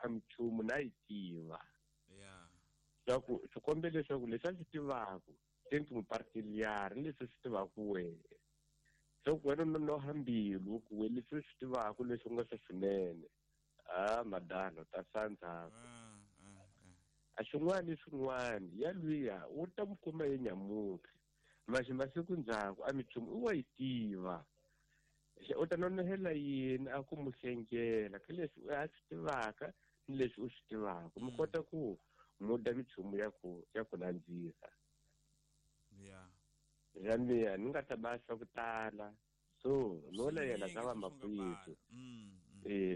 a minchumu na yi tiva. Yeah. Swa ku swi kombe leswaku leswi a swi tivaka se ni particular ni leswi swi tivaka wehe. Swa ku wena u nonoha mbilu ku we leswi u swi tivaka leswi nga swa swinene. Ah, madala ta sandza. A xin'wana ni xin'wana ya luya u ta mu kuma ye nyamuntlha. Maxi masiku ndzhaku a minchumu u wa yi tiva. U ta nonohela yini a ku mu hlengela ka leswi a swi tivaka ni leswi u swi tivaka. Mi kota ku muda minchumu ya ku nandzisa. Yeah. Ya mina ni nga ta ba swa ku tala. So no la yena ka va makwethu.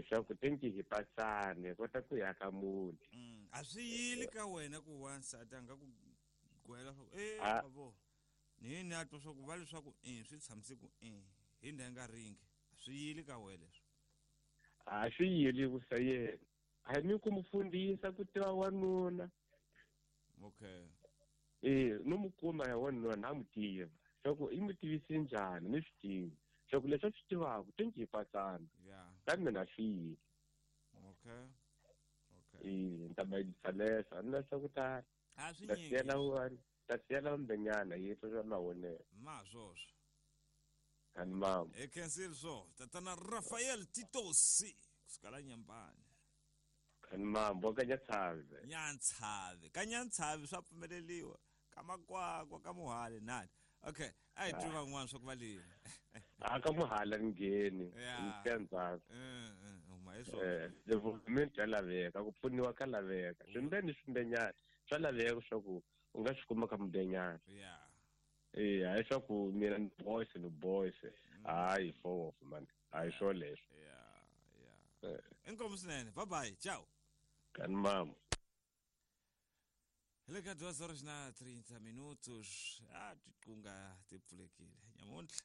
Swa ku tenki hi pasane kota ku ya ka muti. A swi yili ka wena ku wansati a nga ku gwela swa ku babo. Ni ni a twa swa ku va leswaku swi tshamise ku hi ndha nga ringi. A swi yili ka wena leswi. A swi yili ku sa yena. A ni ku mufundhisa ku tiva wanuna. Okay. No mu kuma ya wanuna na mu tiva. Swa ku i mu tivise njhani ni swi tivi. Swa ku leswi swi tivaka tenki hi pasana. Yeah. Ka mina swi yili. Okay. Okay. Ni ta bayisa leswo a ni na swa ku tala. A swi Ta nyingi. siyela wani, ta siyela mbenyana yi twa mavonelo. Ma swoswo. Ani mama. E cancel swo. Tatana Rafael Titosi kusuka la Nyambani. Ani mama ka Nyantshavi. Nyantshavi. Ka Nyantshavi swa pfumeleliwa. Ka Makwakwa ka Muhali nani. Okay, a hi twi van'wana swa ku va lini. A ka Muhala ngheni. Yeah. Ntsandza. Huma hi swona. Development ya laveka, ku pfuniwa ka laveka. Swimbeni swimbenyana swa laveka swa ku u nga swi kuma ka mbenyana. Yeah. Hayi swa ku mina ni boys ni boys. Hayi for off man. Hayi swo leswo. Yeah, yeah. Inkomu swinene. Bye bye. Ciao. Kan mama. Hi le ka 2:30 minutos. A tiqunga ti pfulekile. Nyamuntlha.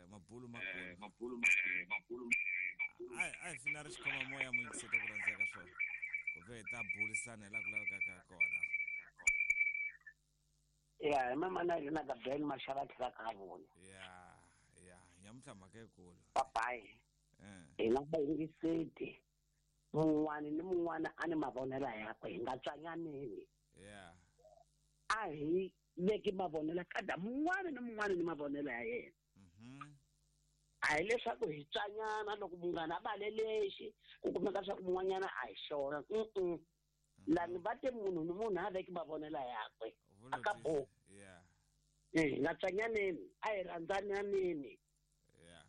Mabulu makulu. Mabulu. Ai fina ri xikhoma moya mu yingiseta ku rhandzeka swona. Ku ve hi ta burisana hi laha ku lavekaka kona. Ya, hi mama na yena ka Ben Mashava tlhela ka vona. Ya, ya, nyamuntlha mhaka yikulu. Papayi. Hi nga va yingiseti. Mun'wana ni mun'wana a ni mavonelo yakwe hi nga tswanyaneni. Yeah. A hi veki mavonelo kada mun'wana ni mun'wana ni mavonelo ya yena. A hi leswaku hi tswanyana loko munghana a vale lexi ku kumeka leswaku mun'wanyana a hi xona. Lani va te munhu ni munhu a veki mavonelo yakwe. A ka bo. Yeah. Hi nga tswanyaneni, a hi rhandzananeni. Yeah.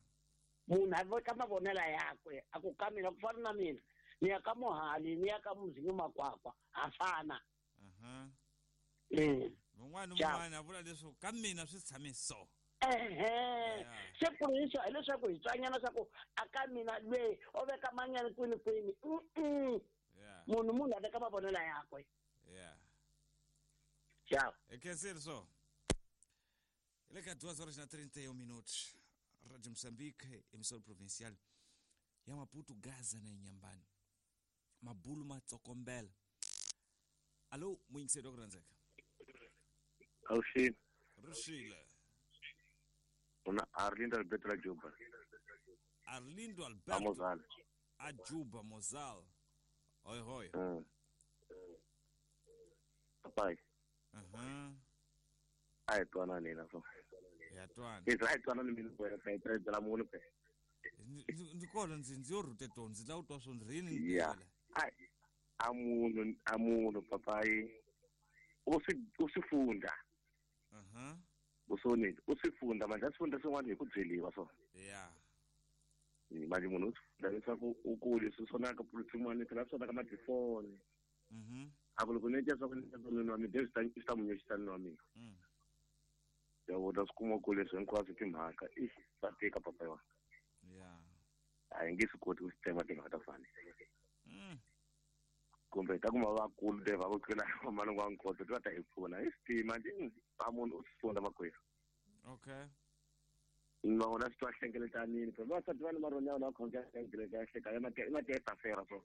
Munhu a veka mavonelo yakwe a ku ka mina ku fana na mina ni ya ka Muhali ni ya ka Muzinyo Makwakwa ha fana. Mun'wana mun'wana a vula leswaku ka mina swi tshame so. Se ku hi hileswaku hi tswanyana swa ku a ka mina lweyi o veka manyana kwini kwini. Munhu a veka mavonelo yakwe. Yeah. Ciao. E cancel so. Ele ka 2:31 minutos. Rádio Moçambique, emissora provincial ya Maputo, Gaza na Inhambane. Mabulu matsokombela. Alô, muyingiseri wa ku rhandzeka. Awuxini. Rixile. Una Arlindo Alberto la Juba. Arlindo Alberto. Mozal. A Juba Mozal. Oi, oi. Papai. A hi twanani na so. Ya twana. Hi a hi twanani mina wena ka hi tirhela munhu pe. Ndzi kona ndzi yo rhute to ndzi lava ku twa swo ndzi rini ni Ya. A munhu papai. U swi funda. Usonile, u swi funda manje a swi funda swin'wana hi ku byeliwa so. Yeah. Manje munhu u swi funda leswaku u kule swi sonaka swin'wana phela swi sonaka matifoni. A ku loko ni tya swa ku ni nwa mina swi ta munyuxisa nwa mina. Ya vona swi kuma ku leswi hinkwaswo timhaka i swa tika papa wa. Yeah. A hi nge swi koti ku swi tsema timhaka ta fana. Kumbe ta kuma vakulu te va ku tlula malungu wa nkoto ti va ta hi pfuna hi swi tima nje a munhu u swi funda makwerhu. Okay. Vona swi twa hlengeletanini phela vavasati va ni maronyana va khongela kereke ya hleka i ma tiyetafera so.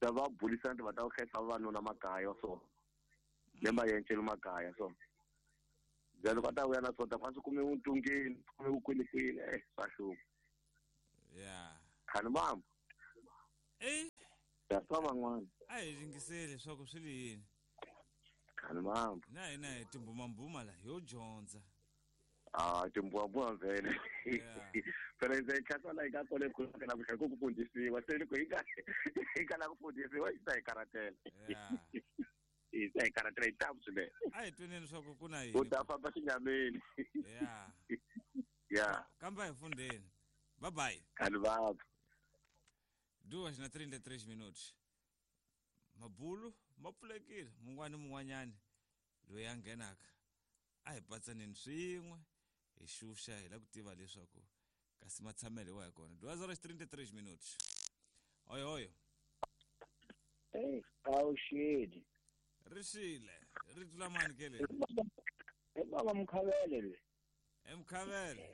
Ta va burisana ti va ta ku hlayisa vavanuna makaya so. Le mayencelo makaya so. Loko a ta vuya na swona ta swi kume vuntungeni swi kume vukwinikwini swa hlupha. Yeah. Khani mama. Ta twa van'wana. A hi yingiseli leswaku swi li yini. Khani mambo. Na hina hi timbumambuma la yo dyondza. Ah, timbumambuma vhele. Phela ndzi khatsa la ika kole ku na ku ku fundisiwa se loko hi ka la ku fundisiwa yi ta hi karatela. Yi ta hi karatela yi ta swinene. A hi tweneni leswaku ku na yini. U ta famba xinyameni. Yeah. Kamba hi fundeni. Bye bye. Khani mambo. 2:33 minutos. Mabulu ma pfulekile mun'wana ni mun'wanyani loyi a nghenaka a hi patsaneni swin'we hi xuxa hi lava ku tiva leswaku kasi matshamelo wa hi kona. 2:33 minutos. Oyo oyo. Hey, awuxeli. Ri xile ri tlula mani ke le? I baba Mkhavele le. Mkhavele.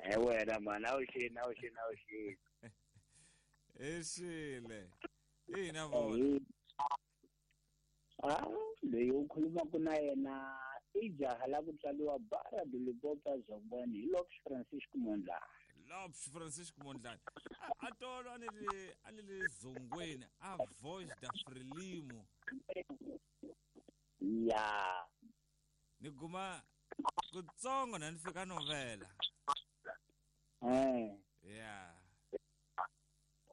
Eh wena mani awuxeli awuxeli awuxeli. Exile. Ina vona. Ah, leyi u khulumaka na yena i jaha la ku tswariwa Barra do Limpopo Zongwani hi Lopes Francisco Mondlane. Lopes Francisco Mondlane. A tolo a ni le Zongweni a Voz da Frelimo. Ya. Ni guma kutsongo na ni fika novela. Yeah.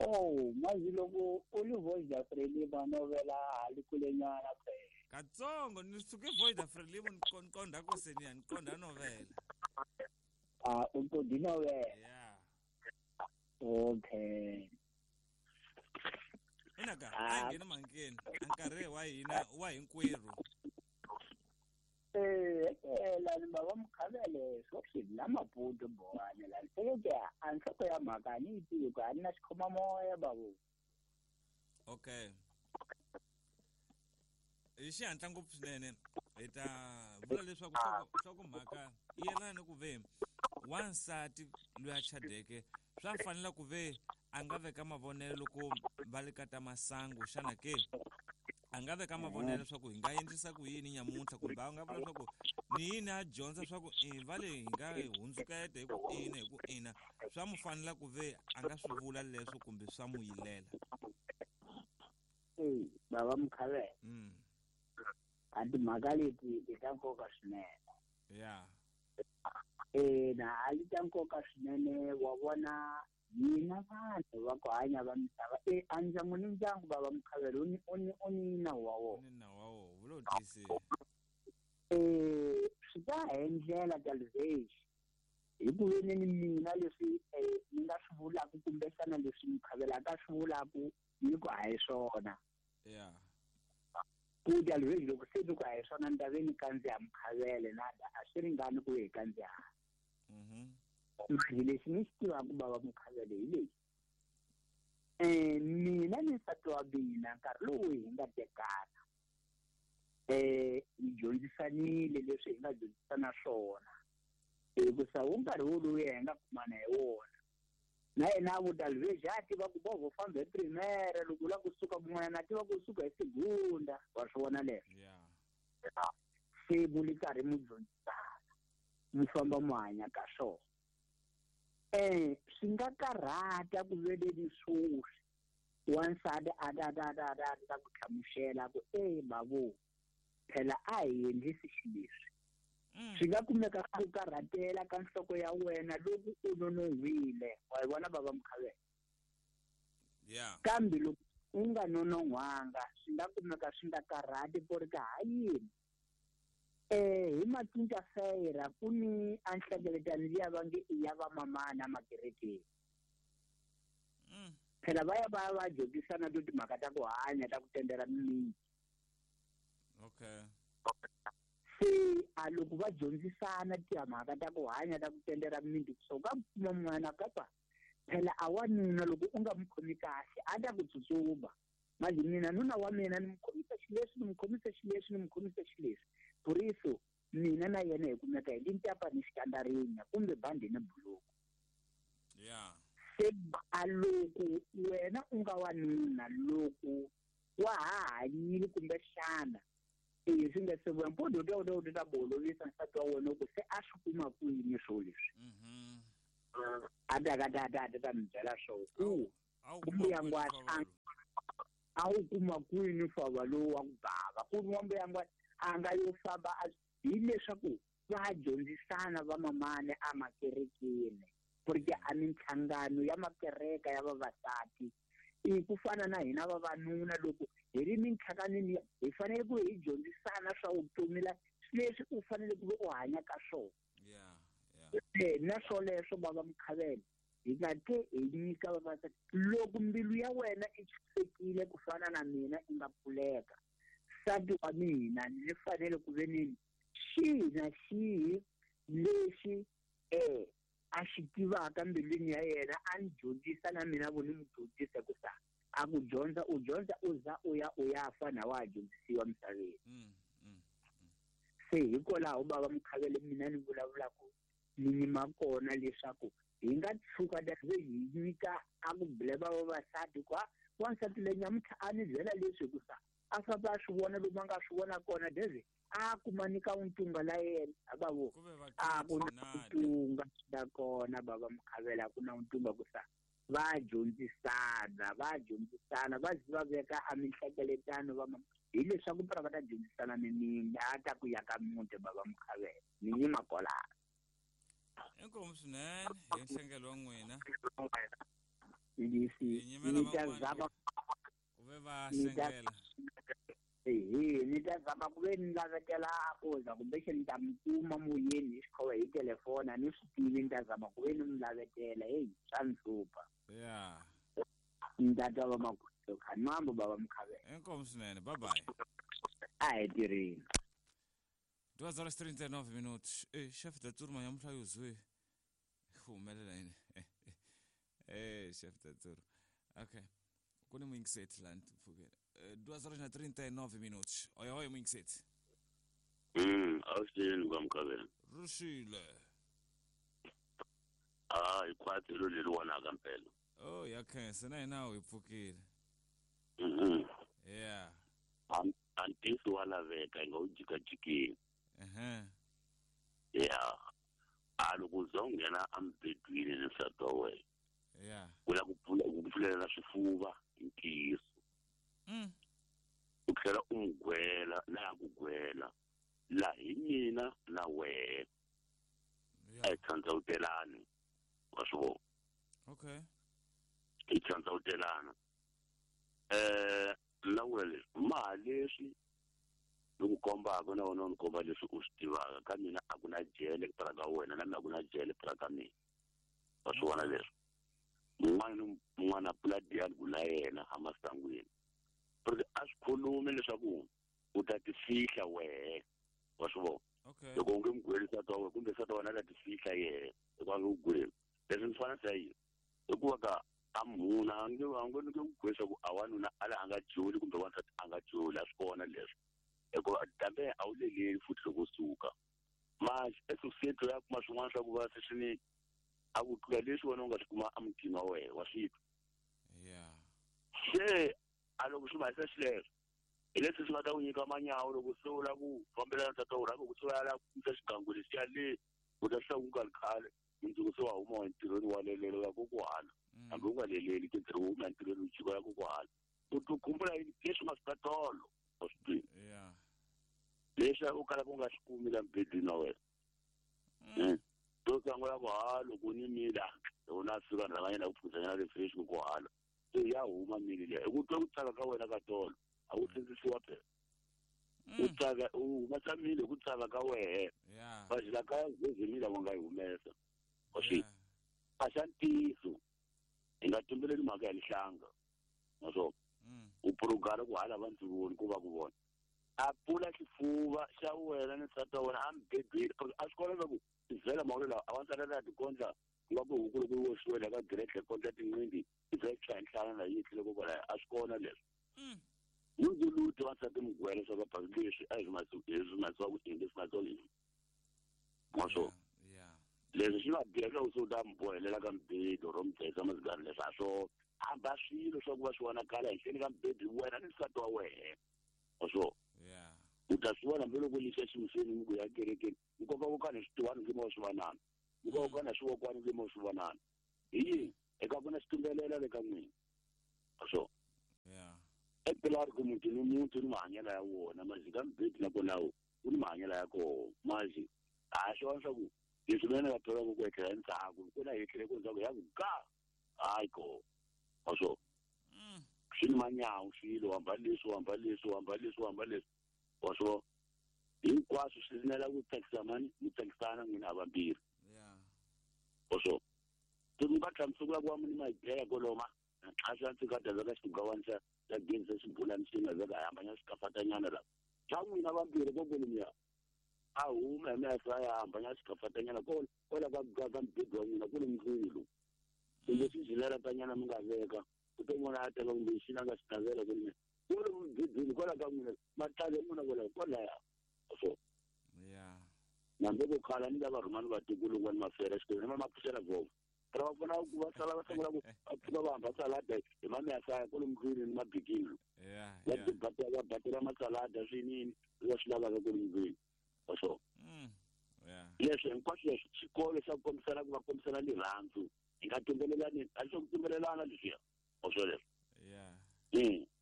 Oh, mazi loko u li Voz da Frelimo novela hali kulenyana phela. Katsongo ni suke Voz da Frelimo ni qonda ku seniya ni qonda novela. Ah, u qonda novela. Yeah. Okay. Ina ka a nghena mankeni a nkarhi wa hina wa hinkwerhu. La ni baba Mkhavele swo swi la Maputo bohane la nhleke a nhloko ya mhaka ni yi tivi ku a ni na xikhomamoya babo. Okay. Hi xihatla ngopfu swinene hi ta vula leswaku nhlokomhaka yi yelana ni ku ve wansati loyi a chadeke swa fanela ku ve a nga veka mavonelo loko va le ka ta masangu xana ke a nga veka mavonelo leswaku hi nga endlisa ku yini nyamuntlha kumbe a nga vula leswaku ni yini a dyondza leswaku va le hi nga hundzuketa hi ku ina hi ku ina swa mu fanela ku ve a nga swi vula leswo kumbe swa mu yilela. Baba Mkhavele. A timhaka leti i ta nkoka swinene. Yeah. Na a li ta nkoka swinene wa vona hina vanhu va ku hanya va misava a ndyangu ni ndyangu baba Mkhavele u ni nawu wa wona. Ni nawu wa wona vulo tiyisile. Swi ta hi ndlela ta lexi hi ku veni ni mina leswi ni nga swi vulaka kumbexana leswi Mkhavele a ka swi vulaka ni ku a hi swona. Yeah. Ku dya lexi loko se ni ku a hi swona ni ta ve ni kandziya Mkhavele na a swi ringani ku hi kandziya. Manje lexi ni xi tivaka baba Mkhavele hi lexi. Mina ni nsati wa mina nkarhi lowu hi nga tekana hi dyondzisanile leswi hi nga dyondzisana swona hikusa wu nkarhi woluya hi nga kumana hi wona na yena a vuta lexi a tiva ku bovho famba hi primera loko u lava kusuka kun'wana a tiva ku suka hi segunda wa swi vona leswo. Se mu li karhi mu dyondzisana mu famba mu hanya ka swona. Swi nga karhata ku veleni swoswi wansati a ta ta ta ta ta ku hlamusela ku bavo phela a hi endlisi xileswi. Swi nga kumeka ku karhatela ka nhloko ya wena loko u nonon'hwile wa yi vona baba Mkhavele. Yeah. Kambe loko u nga nonon'hwanga swi nga kumeka swi nga karhati ku ri ka ha yini. Hi macinca feyira ku ni a nhlengeletano liya va nge i ya vamamana makerekeni. Phela va ya va ya va dyondzisana to timhaka ta ku hanya ta ku tendela mimiti. Okay. Se a loko va dyondzisana timhaka ta ku hanya ta ku tendela mimiti so ka kuma n'wana kapa phela a wanuna loko u nga mu khomi kahle a ta ku tsutsuma. Manje mina nuna wa mina ni mu khomisa xileswi ni mu khomisa xileswi ni mu khomisa xileswi. Por isso mina na yena hi kumeka hi lintapa ni xikandarinya kumbe bandi ni buluku. Yeah. Se a loko wena u nga wanuna loko wa ha hanyile kumbexana swi nga se vuya mpondo u ta bolovisa nsati wa wena ku se a swi kuma kwini swo leswi. A ta ka ta ta ta mi byela swo ku A wu kumbe ya ngwatla. A wu kuma kwini fava lowu wa ku bava ku ri n'wambuyangwana a nga yo famba hileswaku va dyondzisana vamamane emakerekeni porque a minhlangano ya makereka ya vavasati i ku fana na hina vavanuna loko hi ri minhlanganweni hi fanele ku hi dyondzisana swa vutomi la leswi u fanele ku u hanya ka swona. Na swoleswo bava Mukhavela hi nga te hi nyika vavasati loko mbilu ya wena i chusekile ku fana na mina i nga pfuleka nsati wa mina ni fanele ku ve ni xihi na xihi lexi a xi tivaka mbilwini ya yena a ni dyondzisa na mina vo ni n'wi dyondzisa ku sa a ku dyondza u dyondza u za u ya u ya fa na wa ha dyondzisiwa misaveni. Se hikwalaho bava Mukhavele mina ni vulavulaka ni nyima kona leswaku hi nga tshuka hi nyika a ku blema vavasati kwa wansati leyi nyamuntlha a ni byela leswi ku sa a famba a swi vona lomu a nga swi vona kona deze a kuma nyika untunga la yena bavo a ku na untunga la kona bava Mukhavela a ku na untunga ku sa va dyondzisana va zi va veka a minhlengeletano va hileswaku pra va ta dyondzisana ni a ta ku ya ka muti bava Mukhavela ni nyima kwalano. Inkomu swinene hi nhlengelo wa n'wina. Ni ta zama ku ve va hlengela. Ni ta zama ku ve ni lavetela ku za kumbe ni ta mi kuma moyeni hi xikhova hi telefoni a ni swi tivi ni ta zama ku ve ni mi lavetela heyi swa ni hlupha. Ni ta twa va makhoto khanambo bava Mukhavela. Inkomu swinene, bye bye. A hi tirheni. 2h39 minutos. Chefe da turma nyamuntlha yuzwe humelela yini? Chefe da turma. Okay. Ku ni muyingiseti la ni pfukela. 2h39 minutos. Oi oi muyingiseti. Awuseni kwa Mukhavela. Rushile. Ah, ikhwatsi lo leli wona mpela. Oh, ya khensa na hina hi pfukile. Yeah. Antisi wa laveka hi nga wu jikajikeni. Yeah. A loko u za u nghena emubedweni ni nsati wa wena. Yeah. U lava ku pfulela swifuva hi ntiyiso. U tlhela u n'wi gwela laha ku gwela la hi mina na wena. A hi tsandzawutelani wa swi vona. Okay. Hi tsandzawutelana. Na vula leswi maha leswi ni ku kombaka na wena u ni komba leswi u swi tivaka ka mina a ku na jele pra ka wena na mina a ku na jele pra ka mina. Wa swi vona leswi mun'wana ni mun'wana a pfula dialogue na yena emasangwini porque a swi khulumi leswaku u ta ti fihla wehe wa swi vona. Loko u nge n'wi gweli nsati wa wena kumbe nsati wa wena a ta ti fihla yehe hikuva a nge ku gweli leswi ni fana sa yini hikuva ka a munhu a nge nge ku gweli swa ku a wanuna a la a nga joli kumbe wansati a nga joli a swi kona leswi hikuva kambe a wu leleli futhi loko u suka manje esosiyete ya kuma swin'wana swa ku va se swi ni a ku tlula leswi wena u nga swi kuma emutini wa wena wa swi twa. Se a loko swi mahisa xileswo hi leswi swi nga ta ku nyika manyawo loko se u lava ku fambelana nsati wa wena ku se u ya lava ku kumisa xigangu lexiya le u ta swi ku nga ri khale mundzuku se wa huma entirhweni wa lelelo ya kokuhala hambi u nga leleli ke ntirho wo huma entirhweni u jika ya kokuhala u ti khumbula yini leswi nga swi tolo wa swi tivi leswi u kalaka u nga swi kumi la mubedweni wa wena. To sungula ku ha loko ni mila loko na fika ni rhanga nyana ku phuzanyana refresh ku hala se ya huma mili liya hi ku twa ku tsaka ka wena ka tolo a wu sindzisiwa phela u tsaka u humesa mili hi ku tsaka ka wehe vazila ka zezimila wa nga yi humesa wa swi a xa ntiyiso hi nga tumbeleli mhaka ya lihlanga naswona u purugala ku hala va ndzi voni ku va ku vona a pfula xifuva xa wena ni nsati wa wena a mubedweni a swi kona leswaku vhela mawulo lawa a wansati a tikondla ku nga ku huku loko yi oxiwe la ka gretle kondla tinqindi i za yi tshaya nhlana na yi tlhele kokwalaho a swi kona leswi ndzuluti wansati mugwela swa ka leswi a hi swi masiwa ku endli swi masiwa leswi maswona leswi swi nga biha leswaku se u ta mi bohelela ka mibedo ro mi dlayisa mazigari leswi a swo hamba swilo swa ku va swi vonakala henhleni ka mibedo wena ni nsati wa wena wa swona u ta swi vona hambi loko lixa ximiseni mi ku ya kerekeni nkoka wo kana switiwani nge mo swi vonana nkoka wo kana swivokwani nge mo swi vonana hi yini eka ku na xitumbelela le ka n'wina wa swona. É claro que muti ni muti ni mahanyelo ya wona mazika mbiti na kona wu ni mahanyelo ya kona mazi a swona swa ku leswi mina nga thola ku etlela endzhaku ku na hi tlhele ku ndzhaku ya ku ga hayi ko wa swo swi ni manyawu swilo hamba leswi hamba leswi hamba leswi hamba leswi wa swo hinkwaswo swi rinela ku tsakisa mani mi tsakisana n'wina havambirhi wa swo se mi nga hlamusela ku wa muni ma yi koloma a swi ndzi nga ta veka xigawani xa xa gezi xibulani xi nga veka hambanya xikafatanyana la xa n'wina vambirhi kokwelemiya a huma hi mehlo ya hambanya xikafatanyana kwala ka mubhedwa wa n'wina ku le ndlwini lowu kumbe swizileratanyana mi nga veka ku to n'wana a teka kumbe xi na nga xi navela kwele kwale mubhedweni kwala ka n'wina matlale n'wina kwala kwalaya so nambe ku khala ni lava rhumani vatukulu kwani mafera xikolweni ma pfuxela vovo ra va pfuna ku va sala va sungula ku va pfuka va hamba salada hi mameyasaya kwale ndlwini ni mabikini va batela masalada swinini va swi lavaka kwale ndlwini wa swo leswi hinkwaswo leswi xikolo xa ku kombisana ku va kombisana rirhandzu hi nga tumbelelani a swo ku tumbelelana leswiya wa swo leswo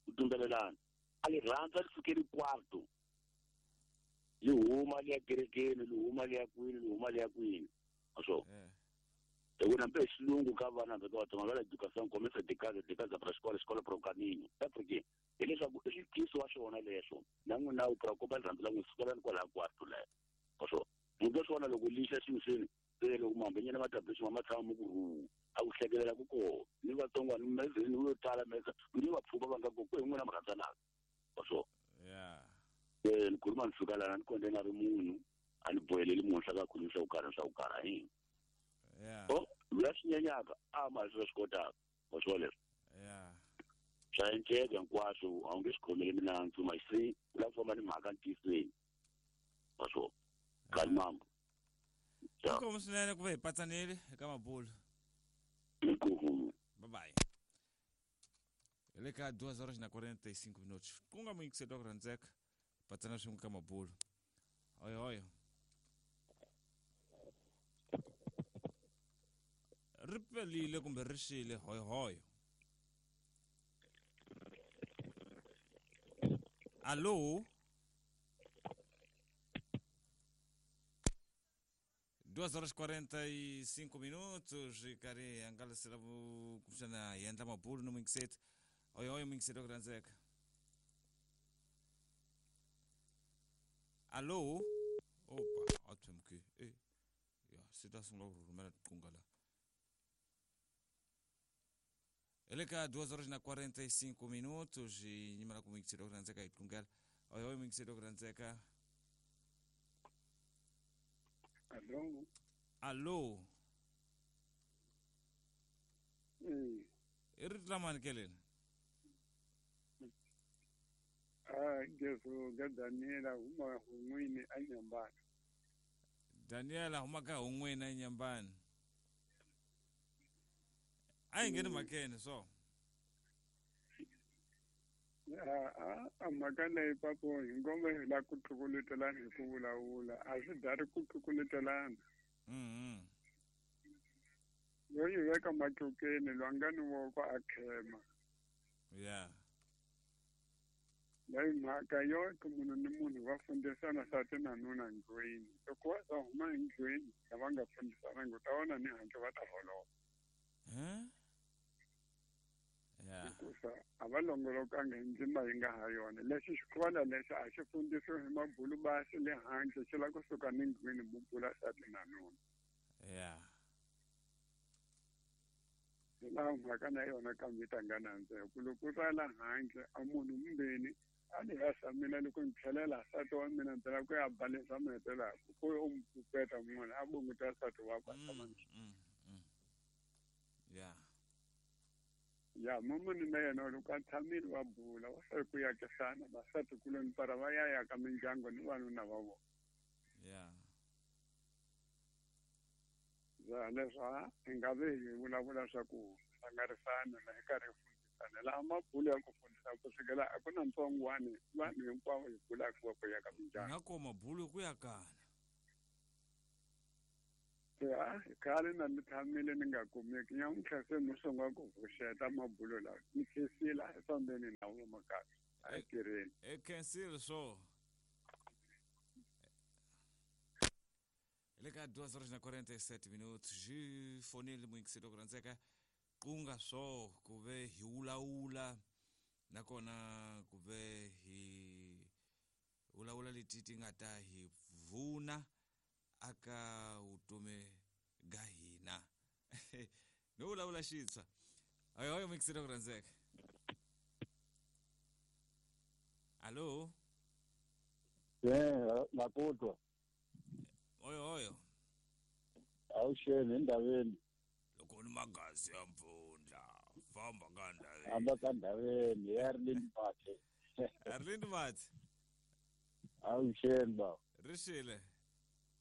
ku tumbelelana a rirhandzu a ri sukeli kwarto li huma li ya kerekeni li huma li ya kwini li huma li ya kwini wa swo Eu não penso longo cavana da tua mãe educação começa de casa para a escola, escola para o caminho. É porque ele já ele quis o acho ona leso. Não não preocupa tanto lá escola com lá quarto lá. Oso, mundo só na logo lixa sim ele logo mambe nyana matabiso mama tshama ku a ku hlekelela ku ko ni vatsongwana mezeni wo tala meza ni va pfuka va nga ku ku n'wina murhandzana. Oso. Yeah. Eh ni khuluma ni fika lana ni konde nga ri munhu a ni boheleli munhu swa ka khuluma swa ku karha swa ku karha yini. Yeah. Oh, lwasinyanyaka a ma swi kotaka wa swo leswo. Yeah. Swa enceka hinkwaswo a wu nge swi khomeli minandzu masi u lava ku famba ni mhaka ntiyisweni wa swo kalimambo. Inkomu swinene ku va hi patsanile eka mabulo. Inkomu. Bye bye. Hi le ka 2 horas na 45 minutos. Ku nga muyingiseri wa ku rhandzeka patsana swin'we ka mabulo. Hoyo hoyo. Ri pelile kumbe ri xile hoyo hoyo. Alô? 2 horas 45 minutos e kari angalasela kumbexana hi endla mabulo no muyingiseti. Hoyo hoyo muyingiseti wa ku rhandzeka. Alô? Opa, a tshemke. Ya, se ta sungula ku rhumela tiqunga la. Ele ka 2 horas na 45 minutos e nyimela ku muyingiseri wa ku rhandzeka hi tlungela. Hoyo hoyo muyingiseri wa ku rhandzeka. Alô? Alô? I rito lamani ke leli? A Gesu ga Daniela huma hun'wini a Nyambani. Daniela huma ka hun'wini a Nyambani. A yi ngheni mhakeni so. A mhaka leyi papo hi ngombe hi la ku tlukulutelana hi ku vulavula a swi dari ku tlukulutelana. Yo yi veka matlukeni lwa nga ni voko a khema. Yeah. Leyi mhaka yo ku munhu ni munhu va fundisana nsati na nuna ndlwini loko va za huma endlwini lava nga fundisanangi u ta vona ni handle va ta holova. Hikusa a va longolokanga hi ndzima yi nga ha yona lexi xikolo lexi a xi fundisiwi hi mabulu basi le handle xi lava kusuka ni ndlwini mu bula nsati na nuna. Yeah. Hi laha mhaka na yona kambe yi ta nga nandzika ku loko u ra la handle a munhu mumbeni a ni hasa mina loko ni tlhelela nsati wa mina ndzi lava ku ya balesa mi hetelaka ku u mi pupeta mun'wana a bunguta nsati wakwe a tshama Yeah. Ya mumuni na yena loko a tshamile va bula va sale ku yakisana vasati kuloni para va ya yaka mindyangu ni vanuna va vona. Yeah. Ya leswi hi nga ve hi vulavula swa ku hlangarisana na hi karhi hi fundisana laha mabulo ya ku fundisa ku sukela a ku na ntsongwani vanhu hinkwavo hi bulaka va ku yaka mindyangu. Nga ko mabulo ku yakana. Se a khale na ni tshamile ni nga kumeki nyamuntlha se no sungula ku pfuxeta mabulo lawa ni khensile a hi fambeni na wo makaya a hi tirheni. E khensile swo. Hi le ka 2 horas na 47 minutos xi fonile muyingiseri ku rhandzeka ku nga swo ku ve hi wulawula nakona ku ve hi vulavula leti ti nga ta hi pfuna aka vutomi ga hina. No vulavula xitshwa. Oyo muyingiseri ku rhandzeka. Allo? Nakutwa. Oyo oyo. Awuxeni endhaveni. Loko ni magazi ya mpfundla famba ka ndhaveni. Famba ka ndhaveni ya Arlind Mathe. Arlind Mathe. Awuxeni ba. Rixile.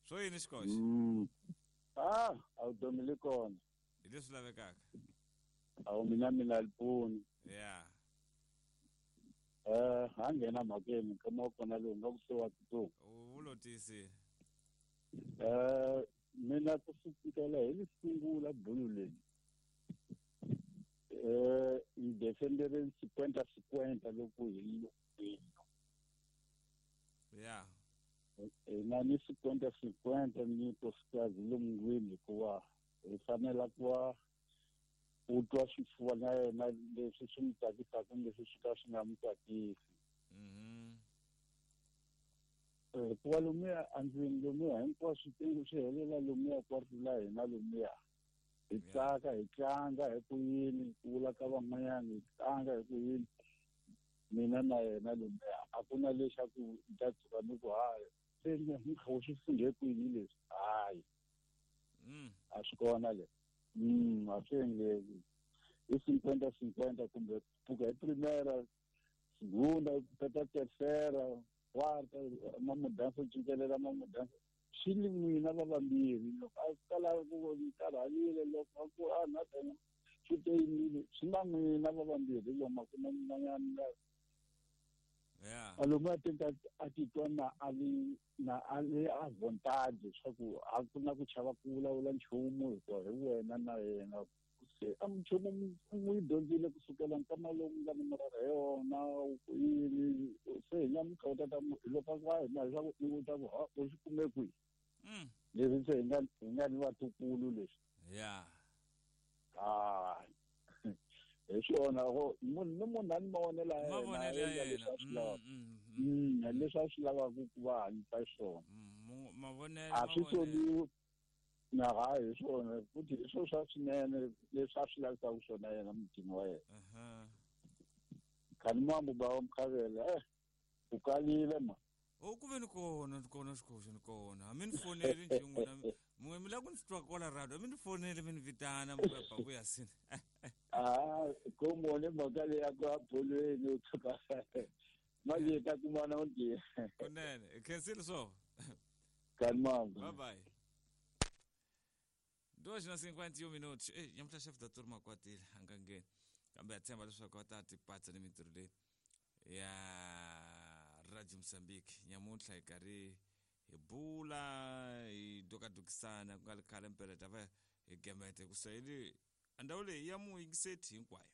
Swo yini xikoxo? Ah, awutomi li kona. Hi leswi lavekaka. Awu mina lipfuni. Yeah. Ha nghena mhakeni nkama wa kona lowu nga ku se wa tsutsuma. U lo tiyisile. Mina ku sukela hi li sungula bulu leyi. Ni defendere 50-50 loko hi li. Yeah. Na ni 50-50 ni nkosikazi lomungwini hikuva hi fanela ku va u twa swifuva na yena leswi swi n'wi tsakisaka leswi swi ka swi nga n'wi tsakisi. Hikuva lomuya andzeni lomuya hinkwaswo swi helela lomuya kwarito la hina lomuya. Hi tsaka hi tlanga hi ku yini ku vula ka van'wanyana hi tlanga hi ku yini mina na yena lomuya a ku na lexaku ni ta tshuka ni ku hayi se ni kha u swi funghe kwini leswi hayi. A swi kona leswi. A swi endleki. Hi 50-50 kumbe pfuka hi primera segunda peta tercera quarta mamudanso cincelela mamudanso swi li n'wina va vambirhi loko a kala ku karhalile loko a ku a na tena swi te yimile swi na n'wina va vambirhi lomu a ku na mun'wanyana. Yeah. Lomu a teka a titwa na a li na a li a vontade swa ku a ku na ku chava ku vulavula nchumu hikuva hi wena na yena se a nchumu n'wi dyondzile kusukela nkama lowu nga ni murara hi yona ku yini se hi nyamutlha u tata loko a ku a hina leswaku i vuta ku ha u swi kume kwihi. Leswi se hi nga ni vatukulu leswi. Yeah. Ah. Hi swona munhu ni munhu a ni mavonelo ya yena leswi a swi lavaka. Leswi a swi lavaka ku va hanyisa xiswona. Mavonelo a swi soliwi na hayi hi swona futhi hi swona swa swinene leswi a swi lavisaka swona yena mutini wa yena. Khani mambo ba wa Mkhavela u kalile ma. O ku ve ni kona xikoxo ni kona. A mi ni foneli nje n'wina mun'we mi lava ku ni twa kwala radio a mi ni foneli mi ni vitana mi ku ba ku sini. Ah, como ni mhaka leyi ya ku ya bolweni u tshuka manje ta kumana u ndiye. Kunene, khensile swo. Khani mambo. Bye bye. 2:51 minutos. Nyamutlha chef da turma kwatile a nga ngheni. Kambe ha tshemba leswaku va ta tipatsa ni mintirho leyi ya Radio Mozambique. Nyamuntlha hi karhi hi bula hi dokadokisana ku nga ri khale mpela ta va hi gemete ku sayili ndhawu leyi ya muyingiseti hinkwayo.